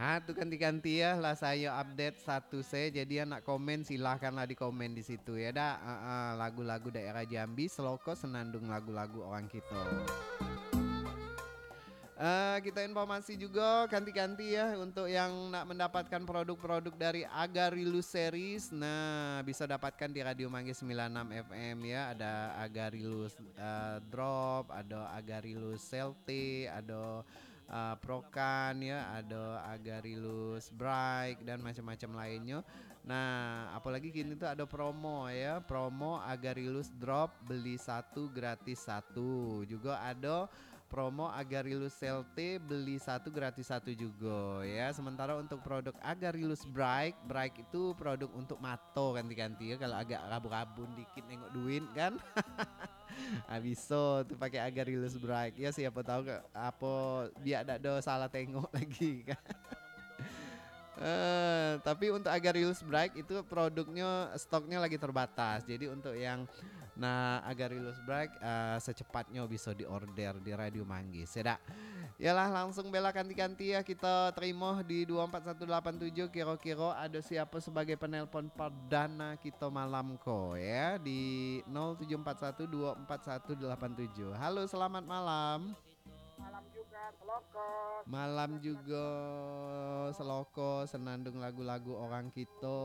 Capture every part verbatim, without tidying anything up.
Ah, tu kanti-kanti ya lah sayo update status saya. Jadi yang nak komen, silahkanlah di komen di situ ya dak. Ah, ah, lagu-lagu daerah Jambi, Seloko, Senandung, lagu-lagu orang kito. Eh, kita informasi juga kanti-kanti ya untuk yang nak mendapatkan produk-produk dari Agarilus Series. Nah, bisa dapatkan di Radio Manggis sembilan enam F M ya. Ada Agarilus eh, Drop, ada Agarilus Selte, ada eh, Prokan ya, ada Agarilus Bright dan macam-macam lainnya. Nah, apalagi kini tu ada promo ya, promo Agarilus Drop beli satu gratis satu. Juga ada promo Agarilus Selte beli satu gratis satu juga ya. Sementara untuk produk Agarilus Bright, Bright itu produk untuk mato kanti-kanti ya. Kalau agak rabun-rabun dikit nengok duit kan. Ah, bisa tu pakai Agarilus Bright. Ya siapa tahu ke, apa biar dak ada salah tengok lagi kan. Eh, tapi untuk Agarilus Bright itu produknya, stoknya lagi terbatas. Jadi untuk yang nah Agarilus Bright eh, secepatnya bisa diorder di Radio Manggis. Ya dak? Yalah, langsung bela kanti-kanti ya kita terima di dua empat satu delapan tujuh. Kira-kira ada siapa sebagai penelpon perdana kita malam ko ya di nol tujuh empat satu dua empat satu delapan tujuh. Halo, selamat malam. Malam juga, Seloko. Malam juga, Seloko, senandung lagu-lagu orang kito.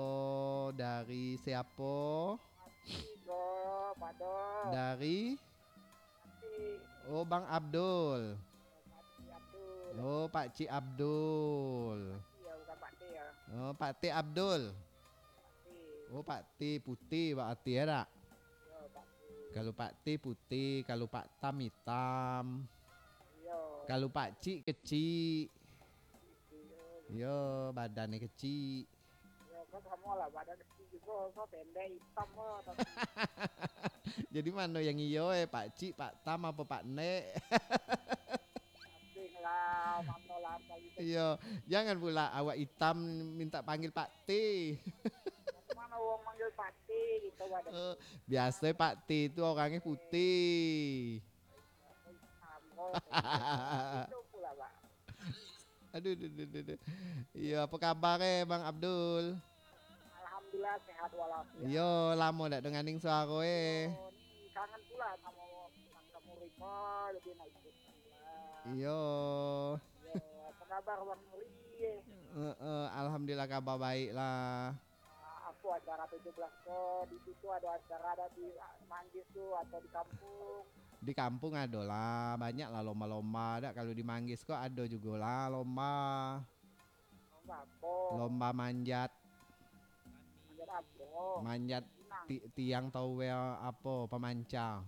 Dari siapo? Tigo, Pado. Dari? Pati. Oh, Bang Abdul. Pati Abdul. Oh, Pakcik Abdul. Iya, bukan Pati ya. Oh, Pakcik Abdul. Pati. Oh, Pakcik putih, Pak Ati ya dak? Iya, Pati. Kalau Pakcik putih, kalau Paktam hitam. Iya. Kalau Pakcik kecik. Iya. Iya, badannya kecik. Yo, kan samo lah, badan kecil juga, kau pendek, hitam lah, tapi Jadi mano yang iyo eh, Pakcik, Paktam, apa Paknek? Asing lah, mano lah, apa gitu. Iyo, jangan pula awak hitam minta panggil Pakti. Mana orang manggil Pakti gitu, badan Eh, biasa Pakti itu orangnya putih. Hitam, oh, itu pula, Pak. Aduh, duh, duh, duh, duh. Iyo, apa kabar eh, Bang Abdul? Alhamdulillah, sehat walafiat. Iyo, lamo dak denganing suaro eh. Oh, ni kangen pula samo Bang Kamuri ko, jadi nak ikut pula. Iyo. Iyo, apa kabar Bang Muri eh? Heeh, alhamdulillah kabar baik lah. Ah, apa acara tujuh belas ko, di situ ada acara, ada di Manggis tu atau di kampung? Di kampung ado lah, banyak lah lomba-lomba. Dak, kalau di Manggis ko ado jugo lah lomba. Lomba apa? Lomba manjat. Manjat apa? Manjat Pinang. Ti-, tiang tau wel apo, pamanca.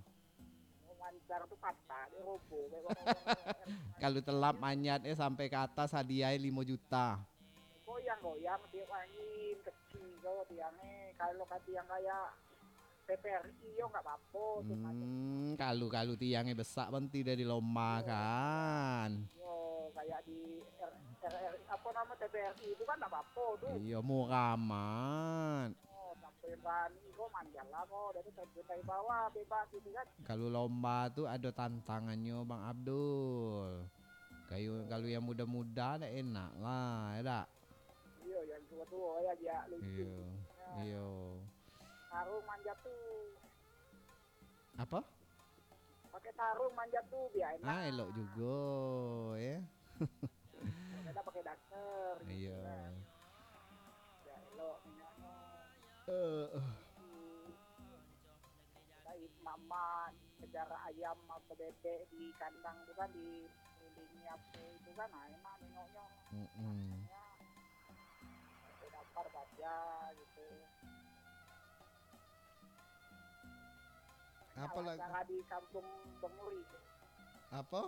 Oh, mancar tu patah, dia roboh. Kayak orang-orang Kalau telap manjat eh sampai ke atas, hadiah eh limo juta. Goyang-goyang tiap angin, kecil kau tiang eh. Kalau ka tiang kayak T V R I yo nggak apa-apa tu, macam Hmm, kalu-kalu tiang eh besak, berhenti dari lomba Yo. kan. Yo, kayak di R-, R R I, apa nama, T V R I itu kan nggak apa-apa tu. Iyo, murah amat. Oh, sampai berani kau manjat lah kau, dari terjun dari bawah bebas gitu kan. Kalau lomba tu ado tantangannyo, Bang Abdul. Kayu, kalau yang muda-muda dak enak lah, ya dak? Iyo, yang tua-tua ya, biar lucu. Iyo. Ya. Iyo. Sarung manjat tu. Apa? Pakai sarung manjat tu, biar enak. Ah, elok jugo, ya. Kalau dak pakai daster, gitu Iyo. kan. Biar elok minyaknya. Eh, eh. Hmm. Baik, mama kejar ayam atau bebek di kandang tu kan, dikelilingi apa itu kan, nah, enak nengoknya. Mm-mm. Ya. Sampai lapar baca gitu. Apa Kalau lagi? acara di kampung Benguri tu. Apa?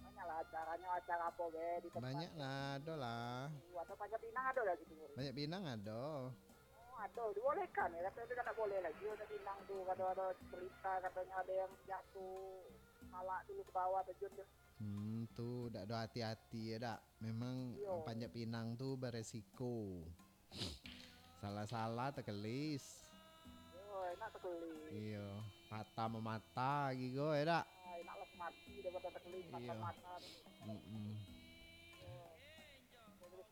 Banyaklah acaranya, acara apa be di tempat Banyak tu. lah, ado lah. Atau Panjat Pinang ada lagi tu, Muri? Banyak Pinang ado. Oh, ada. Dibolehkan ya? Katanya kan tak boleh lagi Panjat Pinang tu. Kalau ada cerita katanya ada yang jatuh malak dulu ke bawah, terjun tu. Hmm, tu dak ada hati-hati ya dak? Memang Iyo. Panjat Pinang tu beresiko. Salah-salah tekelis. Yo, enak tekelis. Iyo, patah memata gigo ya dak? Ah, enak lah mati daripada tekelis Iyo. patah mata tu. Mm-mm. Yo. Terus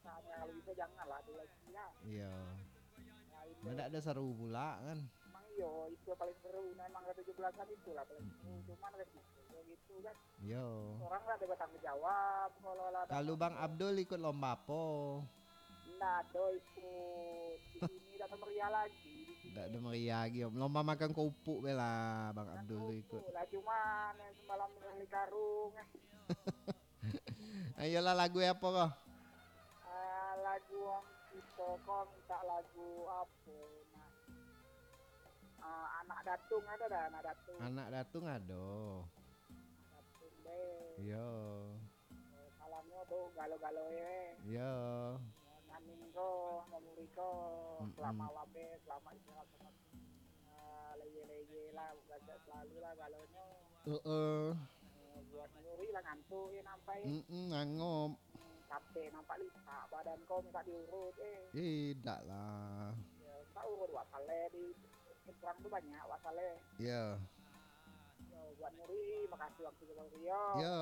Janganlah tu lagi lah. Iyo. Nah, itu. Ndak ado seru pula kan. Emang iyo, itu paling seru. Nah, emang ka tujuh belasan itulah paling seru. Mm-mm. Cuman resiko yo gitu kan. Iyo. Orang lah ada bertanggung jawab kalau lah ada. Kalau Bang Abdul ikut lomba apo? Ndak ado ikut. Di sini dak ada meriah lagi. Di sini. Dak ada meriah lagi. Lomba makan kerupuk be lah Bang Abdul tu ikut. Kerupuk lah, cuman yang semalam beli karung. Ayolah, lagu apo ko? Ah, lagu wong kito ko minta lagu apo nak? Ah, Anak Datung ado dak, Anak Datung? Anak Datung ado. Anak Datung be. Iyo. Eh, salamnyo tu galo-galo ye. Iyo. Naning ko, Mamuri ko, Mm-mm. Selamat malam be, selamat istirahat, selamat Ah, leye-leye lah, bagak selalu lah galonyo. Heeh. Eh, buat Nuri lah ngantuk ye nampak ye. Mm-mm, angop. Capek nampak litak badan ko minta diurut eh. Eh, dak lah. Ya, minta urut wak Saleh di Nyebrang tu banyak wak Saleh. Ya. Yo, buat Nuri, makasih waktu kau yo. Ya.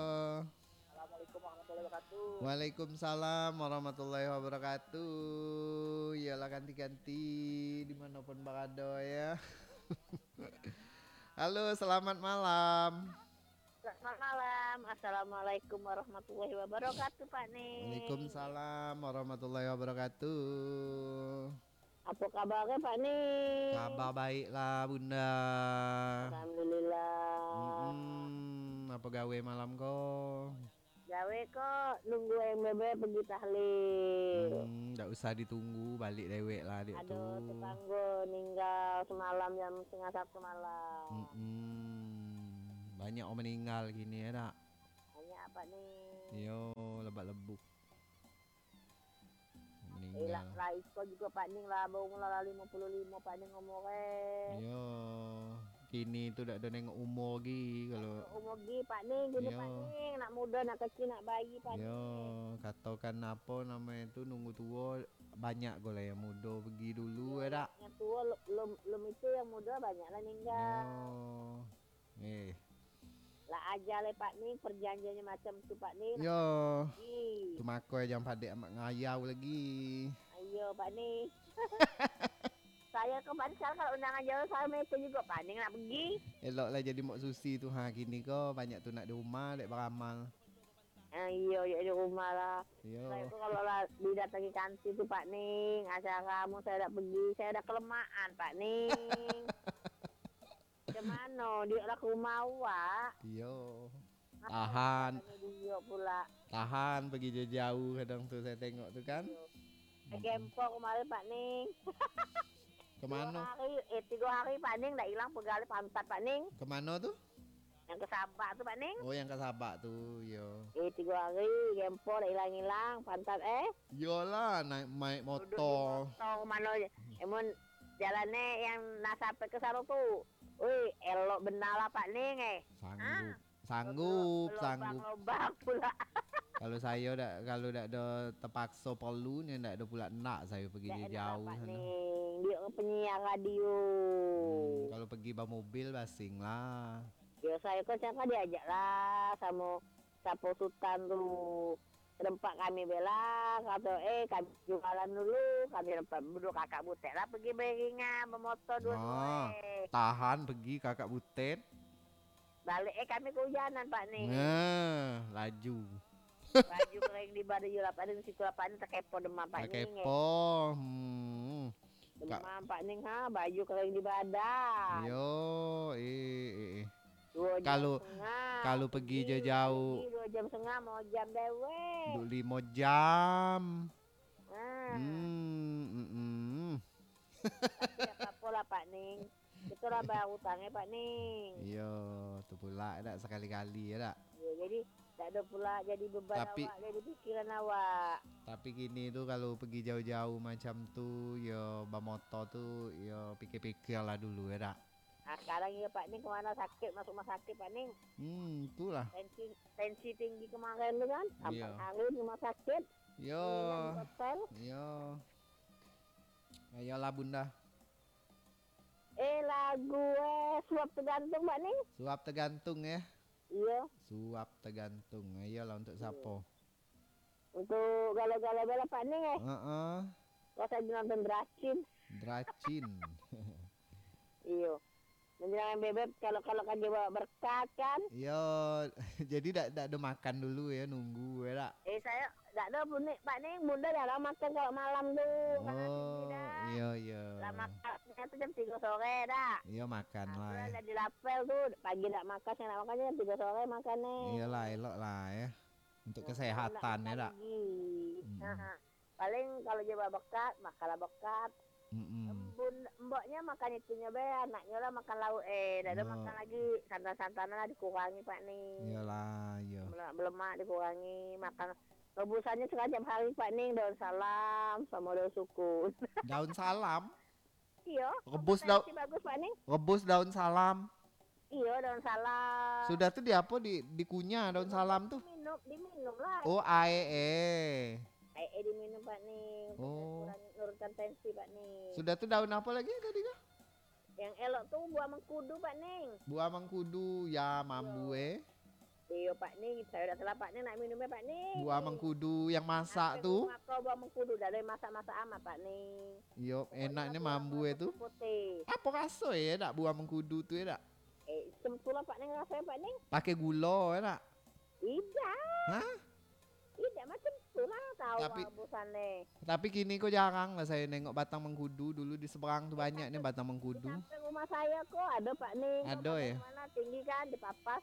Assalamualaikum warahmatullahi wabarakatuh. Waalaikumsalam warahmatullahi wabarakatuh. Iyolah, kanti-kanti dimanopun barado ya. Halo, selamat malam. Selamat malam. Assalamualaikum warahmatullahi wabarakatuh, Pak Ning. Waalaikumsalam warahmatullahi wabarakatuh. Apo kabarnyo, Pak Ning? Kabar baiklah, Bunda. Alhamdulillah. Mm-mm. Apo gawe malam ko? Gawe ko nunggu yang bebe pergi tahlil. Hmm, ndak usah ditunggu, balik dewek lah, dek tu. Ado tetanggo ninggal semalam jam setengah satu malam. Mm-mm. Banyak orang meninggal kini, ya dak? Banyak, Pak Ning. Iyo, lebak-lebuk. Eh, lah, Meninggal. Lah iko jugo Pak Ning lah, baumur lah limo puluah limo Pak Ning umur eh. Iyo. Kini tu dak ado nengok umur gi kalau. Umur gi Pak Ning, kini Iyo. Pak Ning, nak mudo, nak kecil, nak bayi Pak Iyo, Ning. Katokan apo namonyo tu, nunggu tuo, banyak ko lah yang mudo pergi dulu, Iyo, ya dak? Yang tuo lum, lum itu, yang mudo banyak lah ninggal. Iyo. Eh. Lah aja leh Pak Ning, perjanjiannyo macam tu Pak Ning. Yo. Ih. Tu mako jan padek amak ngayau lagi. Iyo Pak Ning. Sayo ko Pak Ning, sekarang kalau undangan jauah, sayo meko jugo Pak Ning nak pergi. Elok lah jadi Mok Susi tu ha, kini ko banyak tu nak di rumah dek baramal. Ah, iyo, iyo di rumah lah. Iyo. Sayo ko kalau lah didatangi kanti tu Pak Ning, acara mun sayo dak pergi, sayo dak kelemahan Pak Ning. Macam mano? Diok lah ka rumah awak. Iyo. Apo Tahan. Katonyo diok pula? Tahan, pergi jauh-jauh kadang tu, sayo tengok tu kan. Iyo. Mm-mm. Gempo kemarin, Pak Ning. Kemano? Tigo hari, eh, tigo hari, Pak Ning, dak ilang pegal pantat, Pak Ning. Kemano tu? Yang ka Sabak tu, Pak Ning. Oh, yang ka Sabak tu, iyo. Eh, tigo hari, gempo dak ilang-ilang pantat, eh. Iyolah, naik, naik motor. Duduk di motor, mano, eh, mun jalan eh, yang nak sampai ka sano tu. Ui, elok bana lah, Pak Ning, eh. Sanggup. Ah. Sanggup, sanggup. Lobang-lobang pula. Kalau sayo dak, kalau dak ado terpakso perlu ni, dak ado pula ndak sayo pergi jauh-jauh sano. Dak enak, Pak Ning. Diok penyiar radio. Hmm, kalau pergi bamobil, basing lah. Yo, sayo kan siapa diajak lah samo Sapo Sutan tu. Tempat kami bela, kato, eh, kami jualan dulu, kami tempat duduk kakak butek lah pergi beriringan, bamotor duo-duo, ah, eh. Tahan pergi kakak butek. Balik, eh, kami kehujanan, Pak Ning. Nah, laju. Baju kering di badan, yo, lapan ni, siku lapan ni takepo demam, Pak Ning, eh. Takepo, hmm. Ka- Demam, Pak Ning, ha, baju kering di badan. Yo, eh, eh, eh. Duo jam Kalau, setengah. Kalau pergi jauh-jauh. Pergi duo jam setengah, mau jam dewek. Duduk limo jam. Ah. Hmm, mm-mm. Tapi dak apo-apo lah, Pak Ning. Kito lah bayar utang, eh, Pak Ning. Iyo, tu pula dak, sekali-kali, ya dak? Iyo, jadi dak ado pula jadi beban Tapi awak, jadi pikiran awak. Tapi kini tu kalau pergi jauh-jauh macam tu, yo bamotor tu, yo pikir-pikir lah dulu, ya dak? Ah, sekarang iyo, Pak Ning, kemano sakit, masuk rumah sakit, Pak Ning. Hmm, itulah. Tensi, tensi tinggi kemarin tu kan, Iyo. Empat hari di rumah sakit. Iyo. Nginap di hotel. Iyo. Ayolah, Bunda. Eh, lagu, eh, Suap Tergantung, Pak Ning. Suap Tergantung, ya? Iyo. Suap Tergantung. Iyolah, untuk Iyo. Siapo? Untuk galo-galo bela Pak Ning eh. Heeh. Kau saja nonton Dracin. Dracin. Iyo. Menjelang bebek kalau kalau kan dia bawa berkat kan. Iyo, jadi dak dak ada makan dulu ya, nunggu ya dak? Eh saya dak ada pun ni Pak Ning, bunda jarang makan kalau malam tu. Karena tinggi dah. Iyo iyo. Lah makannya tu jam tiga sore dah. Iyo makan lah. Nah, ya. Jadi lapel tu pagi dak makan, siang dak makan jam tiga sore makan nih. Iyalah, elok lah ya. Untuk kesehatan ya dak? Lagi. Hmm. Nah, paling kalau dia babekat, makanlah bekat. Mm-mm. Bun, mboknya makan itunyo be, anaknyo lah makan lauk eh, dak ada makan lagi santan-santanan lah dikurangi Pak Ning. Iyalah, iya. Lemak dikurangi, makan rebusannya sekali tiap hari Pak Ning, daun salam sama daun sukun. Daun salam? Iyo. Rebus daun. Bagus Pak Ning. Rebus daun salam. Iyo, daun salam. Sudah tu di apo, di dikunyah daun salam tu? Diminum, diminum lah. Oh, ae eh. Ae eh diminum Pak Ning. Oh. Kurang nurunkan tensi Pak Ning. Sudah tu daun apo lagi tadi tu? Yang elok tu buah mengkudu Pak Ning. Buah mengkudu ya mambu eh. Iyo Pak Ning, sayo dak salah Pak Ning nak minum eh Pak Ning. Buah mengkudu yang masak tu. Mako buah mengkudu dak boleh masak-masak amat Pak Ning. Iyo, enaknyo mambu eh tu. Apo raso eh dak buah mengkudu tu eh dak? Eh, macam tu lah Pak Ning raso eh Pak Ning. Pakai gulo eh dak? Idak. Hah? Idak macam tu lah tahu. Tapi, tapi kini ko jarang lah sayo nengok batang mengkudu. Dulu di seberang tu banyak ni batang mengkudu. Di samping rumah sayo ko ado Pak Ning. Ado ya? Mana tinggi kan di papas.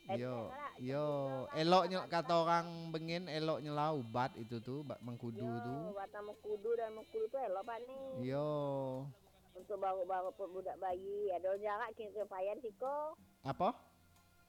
Iyo, iyo. Eloknyo kato orang Bengen, eloknyo lah ubat itu tu, mengkudu tu. Batang mengkudu dan mengkudu tu elok Pak Ning. Iyo. Untuk baruk-baruk budak bayi, ado jarak kini tu payah siko. Apo?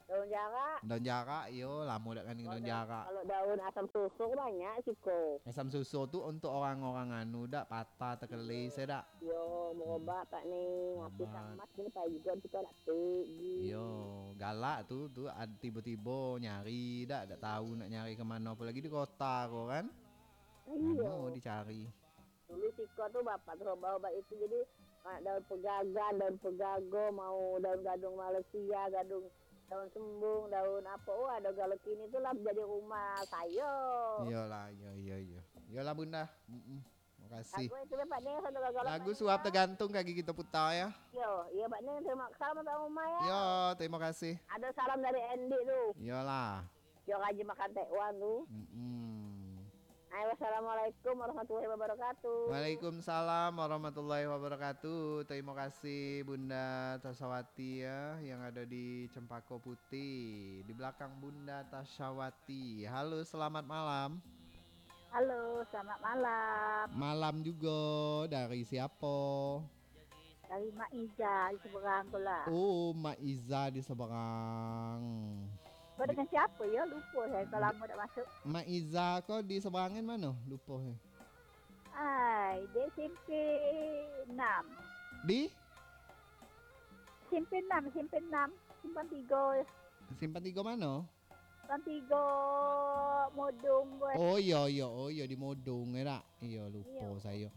Daun jarak. Daun jarak, iyo, lamo dak kani daun jarak. Kalau daun asam susur banyak siko. Asam susur tu untuk orang-orang anu dak patah tekelis ya dak? Iyo, merubah Pak Ning. Api tamat kini payah juga kita dak tegi. Iyo, galak tu tu tibo-tibo nyari dak dak tahu nak nyari ke mano apolagi di kota ko kan. Iyo. Lamo dicari. Dulu siko tu bapak tu obat-obat itu jadi daun pegagan, daun pegago, mau daun gadung Malaysia, gadung daun sembung, daun apo, oh ado galo kini tu lah jadi rumah sayo. Iyolah, iyo iyo iyo. Iyolah Bunda. Mm-mm. Makasih. Lagu itu Pak Ning satu galo. Lagu suap tergantung kaki kita putar ya. Yo, iyo Pak Ning terima kasih sama rumah ya. Yo, terima kasih. Ada salam dari Endi tu. Iyolah. Yo rajin makan tekwan tu. Mm-mm. Hai, wassalamualaikum warahmatullahi wabarakatuh. Waalaikumsalam warahmatullahi wabarakatuh. Terima kasih Bunda Tasawati ya yang ada di Cempako Putih di belakang Bunda Tasawati. Halo, selamat malam. Halo, selamat malam. Malam juga. Dari siapa? Dari Mak Iza di seberang tu lah. Oh, Mak Iza di seberang. Kau dengan siapa ya? Lupa saya, kau lama tak masuk. Mak Iza kau di seberangan mana? Lupa saya. Ai, dia S M P enam. Di? S M P enam, S M P enam. Simpang tiga. Simpang tiga mana? Simpang tiga Modong, gue. Oh iyo iyo, oh iyo di Modong ya dak? Iyo, lupo sayo.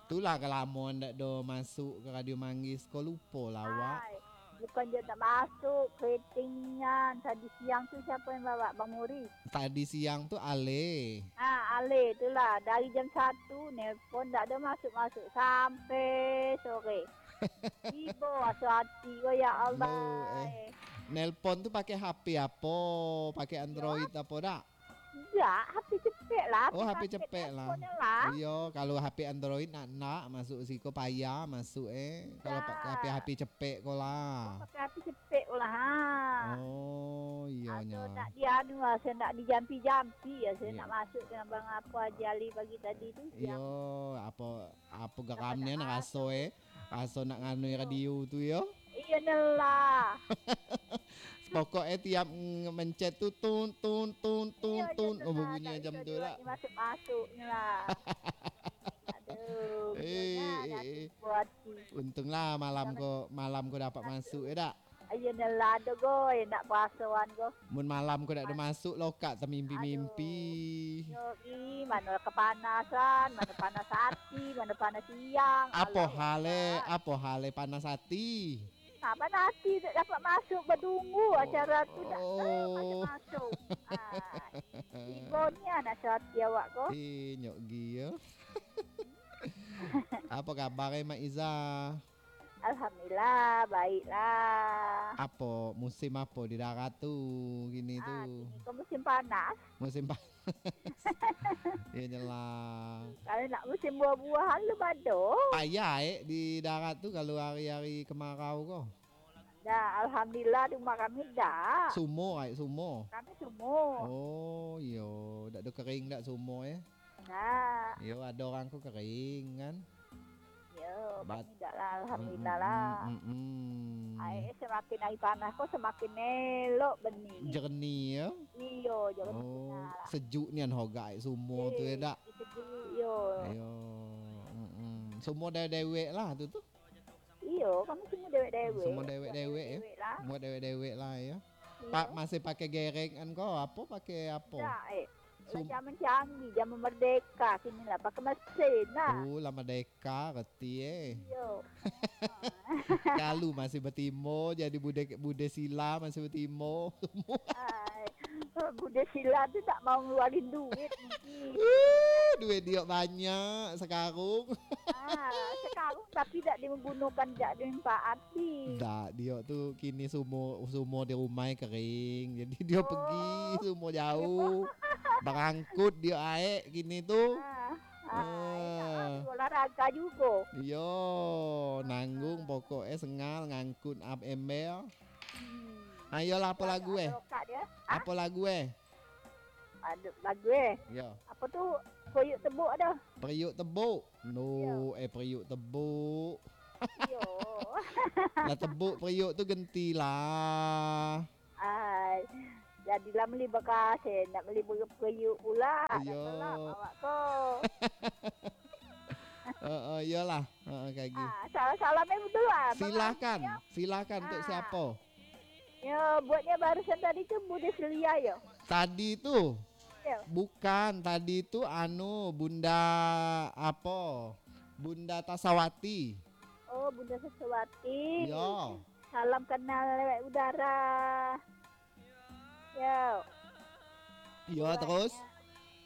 Itulah kalamoan dak do masuk ke Radio Manggis ko, lupo lah awak. Ai, bukan je tak masuk, keriting nian. Tadi siang tu siapa yang bawa? Bang Muri. Tadi siang tu Ale. Ha, Ale tu lah. Dari jam satu nelpon dak ada masuk-masuk sampai sore. Ibo asa ati ko, ya Allah. Aduh, eh. Nelpon tu pakai H P apo? Pakai Android apo dak? Dak, H P cepek lah. Oh, H P cepek lah. Iyo, kalau H P Android nak nak masuk siko payah masuk eh. Kalau pakai H P cepek ko lah. Pakai H P cepek ko lah. Ha. Oh, iyo nyo. Nak dianu lah, saya nak dijampi-jampi ya, saya nak masuk dengan Bang Apo Haji Ali pagi tadi tu. Iyo, apo apo geram nian raso eh. Raso nak nganui radio tu yo. Iyo nyo lah. Pokok eh tiap mencet tu tun tun tun tun tun. Oh, bunyi jam tu lah. Masuk-masuk nyo lah. Aduh. Eh, eh, eh. Untung lah malam ko, malam ko dapat masuk ya dak? Ayo nyo lah, aduh go, nak puasoan go. Mun malam ko dak ada masuk lokak, tamimpi-mimpi. Yo, ih, mano kepanasan, mano panas hati, mano panas siang. Apo hale, apo hale panas hati? Nah, panati tak dapat masuk, batunggu acara tu tak, eh, masuk-masuk. Ah, ibo nian asa ati awak ko. Eh, nyok gi yo. Apo kabar, eh, Mak Iza? Alhamdulillah, baiklah. Apo, musim apo di darat tu, kini tu? Ah, kini ko musim panas. Musim panas. Iyo nyo lah. Kalau nak musim buah-buahan, lu bado. Payah, eh, di darat tu kalau hari-hari kemarau ko. Dah, alhamdulillah di rumah kami dah. Sumur, ai, sumur. Kami sumur. Oh, iyo. Dak ado kering dak sumur, eh? Nah. Iyo, ado urang ko kering, kan? Iyo, Bat- kami dak lah, alhamdulillah lah. Mm, mm, mm, mm. Ai, samakin ari panas ko, samakin elok benih. Jernih, yo? Iyo, jernih. Oh, benar lah. Sejuk nian ho gak ai sumur tu, eh, dak? Sejuk, iyo. Iyo. Mm, mm. Sumur dewek-dewek lah tu, tu. Iyo, kami sumur dewek-dewek. Sumur dewek-dewek, yo? Dewek lah. Sumur dewek-dewek lah, yo. Iyo. Pak masih pakai gerek an ko, apo pakai apo? Dak, eh. Sum- Lah zaman canggih, zaman merdeka, kini lah pakai mesin lah. Oh, lah merdeka, reti, eh. Iyo. Kalu masih batimo, jadi bude, bude sila masih batimo. Ai, bude sila tu tak mau ngeluarin duit mungkin. Uh, duit diok banyak sekarung. Ah, sekarung tapi tak digunokan, tak dimanfaati. Dak, diok tu kini sumur, sumur di rumah kering. Jadi diok pegi sumur jauh. Barangkut diok aek kini tu. Ah, ah, enak lah, olahraga jugo. Iyo, nanggung pokok eh sengal ngangkut ap ember. Hmm. Ayolah, apo lagu eh? Apo lagu eh? Aduh, lagu eh. Yo. Apo tu? Periuk tebuk ado. Periuk tebuk. No, eh, periuk tebuk. Yo. Lah tebuk periuk tu gentilah. Ai, jadilah meli bakasih, nak meli periuk pula. Iyo. Awak ko. Heeh, iyolah. Heeh, kayak gitu. Ah, salam-salam eh betul lah. Silakan. Silakan untuk siapa? Ya, buatnya barusan tadi tu Bude Selia ya? Tadi tu? Ya. Bukan, tadi tu anu, Bunda apa? Bunda Tasawati. Oh, Bunda Tasawati. Ya. Salam kenal lewat udara. Ya. Ya, terus?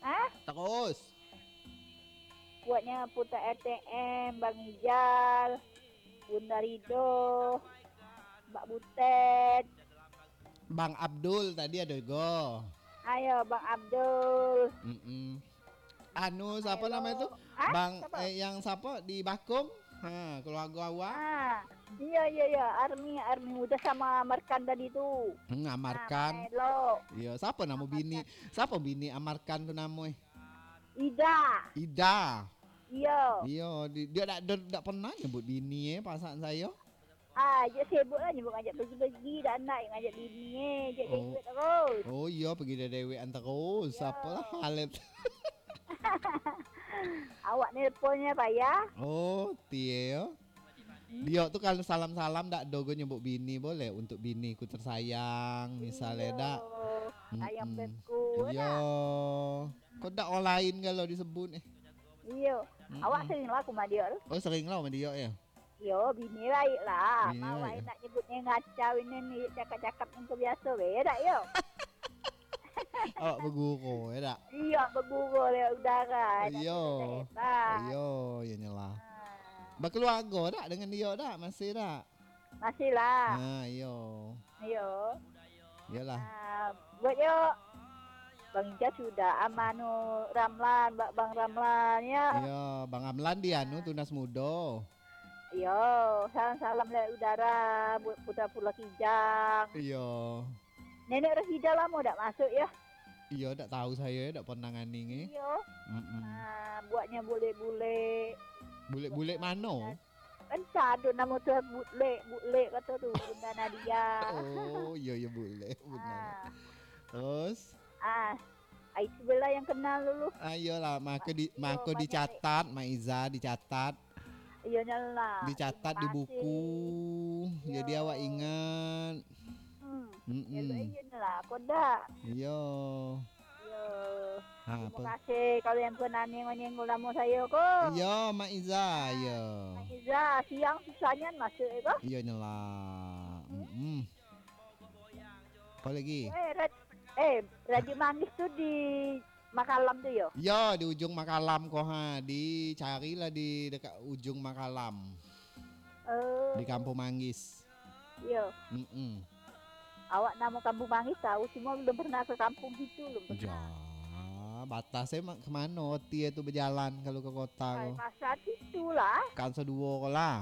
Hah? Terus? Buatnya Puta R T M, Bang Ijal, Bunda Rido, Mbak Butet. Bang Abdul tadi ado jugo. Ayo, Bang Abdul. Mm-mm. Anu, siapa namanya tu? Hah? Bang, siapa? Eh, yang siapa di Bakum? Ha, keluarga awak. Ah, iya, iya, iya. Army, Army udah sama Amarkan tadi tu. Hmm, Amarkan. Nah, Melo. Iya, siapa nama bini? Siapa bini Amarkan tu nama eh? Ida. Ida. Iya. Iya, di-, dia tak, dia tak pernah nyebut bini eh, perasaan saya. Ah, je sibuk lah nyebut ngajak pergi-pergi, dak nak ngajak bini eh, je dewek terus. Oh iya, pergi dewek-dewekan terus. Iya. Apalah halet. Awak nelponnya payah. Oh, tie yo. Hmm? Diok tu kalau salam-salam dak dogo nyebut bini, boleh untuk bini ku tersayang, misalnya dak. Iyo. Sayang beku. Iyo. Kok dak orang lain kalau disebut eh? Iyo. Mm-mm. Awak sering lah ku ma diok tu. Oh, sering lah ma diok ya? Yo, bini baik lah. Bini baik. Awak nak nyebutnya ngacau ini ni, cakap-cakap yang biasa be, dak yo? Awak beguru, ya dak? Iya, beguru lewat udara. Iyo. Iyo, iya nyelah. Ah. Berkeluarga dak dengan dia dak? Masih dak? Masih lah. Ha, iyo. Iyo. Iyalah. Ah, buat yo. Bang Ijaz sudah, Amanu Ramlan, Bang Ramlan, ya. Iya, Bang Ramlan di anu, Tunas Mudo. Iyo, salam-salam lewat udara, buat Putra Pulau Kijang. Iyo. Nenek Rosida lamo dak masuk, ya? Iyo, dak tahu saya, dak pernah nganing, eh. Iyo. Mm-mm. Ah, buatnya bulek-bulek. Bulek-bulek mano? Entah tu namo tu, bulek, bulek kato tu, Bunda Nadia. Oh, iyo, iyo, bulek, Bunda. Ah. Terus? Ah, itu bela yang kenal dulu. Ayolah, mako di-, mako dicatat, Mak Iza, dicatat. Iyo nyolah. Dicatat di buku. Jadi awak ingat. Hmm. Mm-mm. Iyo nyolah, kodak. Iyo. Iyo. Ha, terima kasih kalau yang pernah nengok-nengok lamo sayo ko. Iyo, Mak Iza, iyo. Mak Iza, siang susah nian masuk, eh, ko? Iyo, nyelah. Mm-mm. Apa lagi? Eh, rad-, eh, Radio Manggis tu di Makalam tu, yo? Yo, di ujung Makalam ko, ha. Dicarilah di dekat ujung Makalam. Oh. Di Kampung Manggis. Iyo. Mm-mm. Awak namo Kampung Manggis tahu, cuma belum pernah ke kampung situ, belum pernah. Ja, batas e ma-, ke mano roti e tu bejalan kalau ke kota ko? Ai, masa situ lah. Kan saduo ko lah.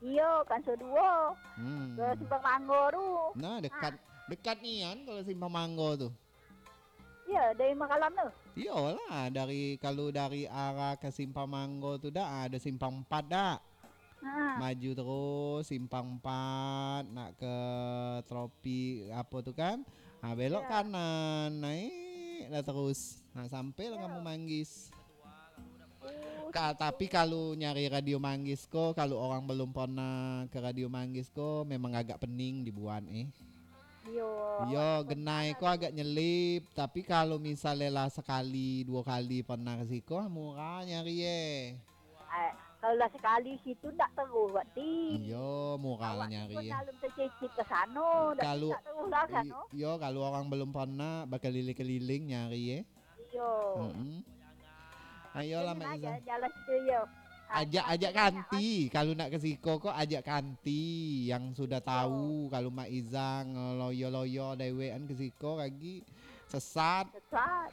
Iyo, kan saduo. Hmm. Ke Simpang Manggo tu. Nah, dekat, dekat nian kalau Simpang Manggo tu. Iyo, dari Makalam tu. Iyolah, dari, kalau dari arah ke Simpang Manggo tu dah, ada Simpang Empat dah. Ha. Maju terus, Simpang Empat, nak ke Tropi, apa tu kan? Ha, belok kanan, naik dah terus. Ha, sampai lah kamu Manggis. Oh, ka-, tapi kalau nyari Radio Manggis ko, kalau orang belum pernah ke Radio Manggis ko, memang agak pening dibuat, eh. Iyo, yo, awak genai ko agak nyelip, tapi kalau misalnya lah sekali, dua kali pernah ke siko, murah nyari, eh. Eh, kalau lah sekali situ, ndak terus, berarti. Iyo, murah lah nyari, eh. Awak tu pernah belum tercicip ke sano, dak, kalau, ndak terus lah i-, sano. Iyo, kalau orang belum pernah, bakeliling-keliling nyari, eh. Iyo. Mm-mm. Ayolah, Mak Iza. Jalan-jalan situ, yo. Ajak, ajak kanti. Kalau nak ke siko ko, ajak kanti yang sudah tahu. Kalau Mak Iza ngeloyo-loyo dewek kan ke siko, kagi sesat. Sesat.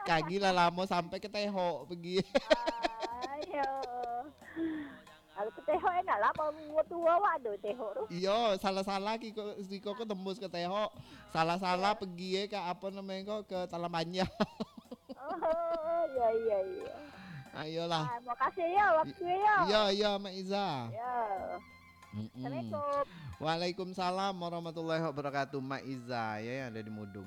Kagi lah lamo sampai ke Tehok pegi. Ayo. Kalau ke Tehok enak lah, mau tuo awak ado Tehok tu. Iyo, salah-salah kiko, siko ko tembus ke Tehok. Salah-salah pegi, eh, ke apa namanya ko, ke Talang Panjang. Oh, iyo, iyo, iyo. Ayolah. Ah, makasih yo, waktu yo. Iyo, iyo, Mak Iza. Yo. Mm-mm. Assalamualaikum. Waalaikumsalam warahmatullahi wabarakatuh, Mak Iza, ya, yang ada di Mudung.